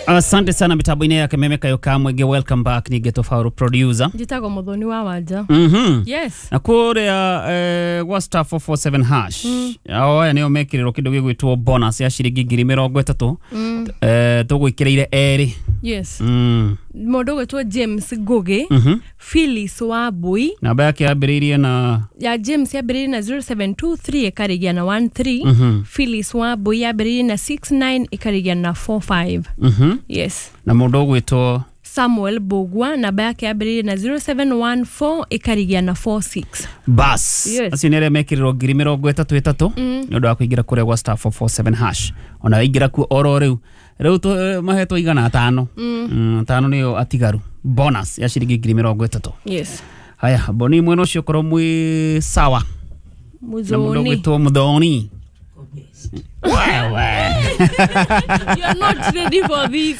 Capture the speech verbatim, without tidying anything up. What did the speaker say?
Asante sana mitambo-inĩ ya Kameme Kayo ka Mwenge. Welcome back. Ni Geto Faru producer. Njĩtagwo Mũthoni wa Wanja. Mhm. Yes. Na kũrĩa eh, gwa star four four seven hash, ao aya nĩo mekĩrĩrwo kĩndũ gĩgwĩtwo bonus ya ciringi ngiri mĩrongo ĩtatũ. Mm. eh, tũgwĩkĩrĩire erĩ. Yes. Mm. Mũndũ ũgwĩtwo James Ngugi, Mhm. Phyllis Wambui. Namba yake yambĩrĩirie na Ya James yambĩrĩirie na zero seven two three ĩkarĩgia na one three. Mhm. Phyllis Wambui yambĩrĩirie na six nine ĩkarĩgia na four five. Mhm. Yes. Na mũndũ ũgwĩtwo Samuel Bogwa, namba yake yambĩrĩirie na zero seven one four ĩkarigia na four six. Bas. Yes. Acio nĩ arĩa mekĩrĩrwo ngiri mĩrongo ĩtatũ ĩtatũ nĩ ũndũ wa kũingĩra kũrĩa gwa star four four seven hash. Ona waingĩra kuo oro rĩu rĩu tũ- mahetwo igana atano. Mm, atano nĩyo atigaru bonus ya ciringi ngiri mĩrongo ĩtatũ. Yes. Haya, boni mwena ũcio korwo mwĩ sawa na mũndũ Muthoni. ũgwĩtwo Muthoni. Wewe. You are not ready for this.